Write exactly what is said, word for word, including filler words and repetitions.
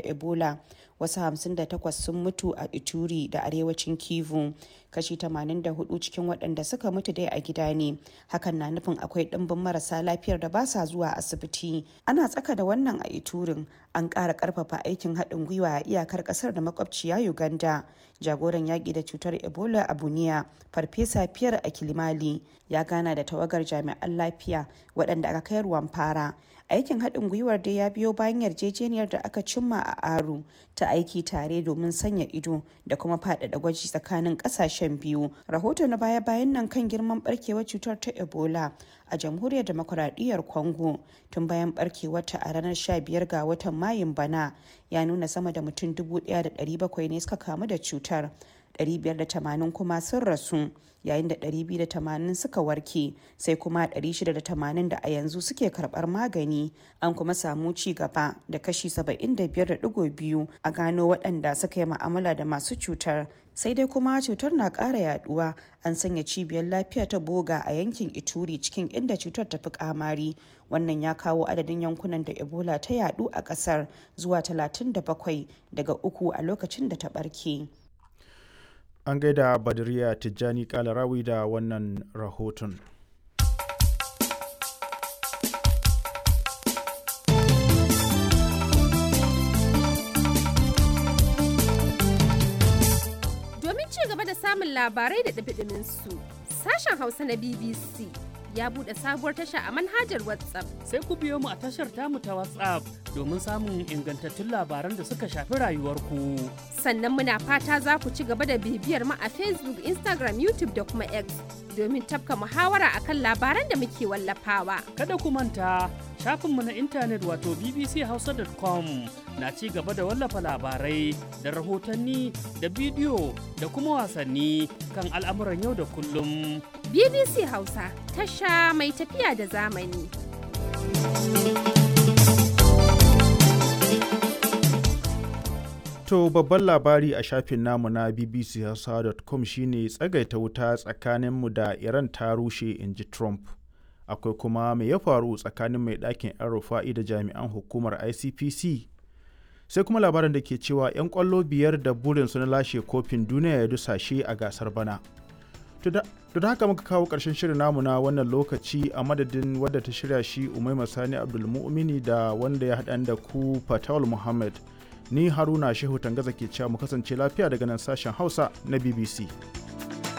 Ebola, wasu hamsin da takwas sun mutu a Ituri da arewacin Kivu. Kashi tamanin da hudu cikin waɗanda suka mutu dai a gida ne, hakan na nufin akwai ɗimbin marasa lafiyar da ba sa zuwa asibiti. Ana tsaka da wannan a Iturin, an ƙara ƙarfafa aikin haɗin gwiwa a iyakar ƙasar da makwabciya Uganda. Jagoran yaƙi da cutar Ebola a Bunia, Farfesa Pierre Akilimali, ya gana da tawagar jami'an lafiya waɗanda aka kai Rwampara. Aikin haɗin gwiwar dai ya biyo bayan yarjejeniyar da aka cimma a Aru ta aiki tare domin sanya ido da kuma faɗaɗa gwaji tsakanin ƙasashen biyu. Rahoto na baya-bayan nan kan girman barkewar cutar ta Ebola a Jamhuriyar Demokuraɗiyyar Congo tun bayan barkewarta a ranar sha biyar ga watan Mayun bana ya nuna sama da mutum dubu ɗaya da ɗari bakwai ne suka kamu da cutar. ɗari biyar da tamanin kuma sun rasu yayin da ɗari biyu da tamanin suka warke, sai kuma ɗari shida da tamanin da a yanzu suke karɓar magani. An kuma samu ci gaba da kashi saba'in da biyar da ɗigo biyu a gano waɗanda suka yi ma'amala da masu cutar. Sai dai kuma cutar na ƙara yaduwa. An sanya cibiyar lafiya ta Boga a yankin Ituri cikin inda cutar ta fi kamari. Wannan ya kawo adadin yankunan da Ebola ta yadu a ƙasar zuwa talatin da bakwai daga uku a lokacin da ta ɓarke. An gaida Badriya Tijjani Kalarawi da wannan rahoton. Domin ci gaba da samun labarai da ɗumi su, sashen Hausa na B B C ya buɗe sabuwar tasha a manhajar WhatsApp. Sai ku biyo mu a tashar tamu ta WhatsApp domin samun ingantattun labaran da suka shafi rayuwarku. Sannan muna fata za ku ci gaba da bibiyar mu a Facebook, Instagram, YouTube da kuma X domin tafka muhawara akan labaran da muke wallafawa. Kada ku manta, shafinmu na intanet wato b b c hausa dot com na ci gaba da wallafa labarai da rahotanni da bidiyo da kuma wasanni kan al'amuran yau da kullum. B B C Hausa, tasha mai tafiya da zamani. To, babban labari a shafin namu na b b c hausa dot com shine tsagaita wuta tsakaninmu da Iran ta rushe, in ji Trump. Akwai kuma me ya faru tsakanin mai ɗakin 'yan Rufa'i da jami'an hukumar I C P C. Sai kuma labarin da ke cewa 'yan ƙwallo biyar da burinsu na lashe kofin duniya ya dusashe a gasar bana. To, da haka muka kawo ƙarshen shirin namu na wannan lokaci. A madadin wadda ta shirya shi, Umaima Sani Abdulmu'mini, da wanda ya haɗa da ku, Fatawul Muhammad. Ni Haruna Shehu Tangaza ke cewa mu kasance lafiya daga nan sashen Hausa na B B C.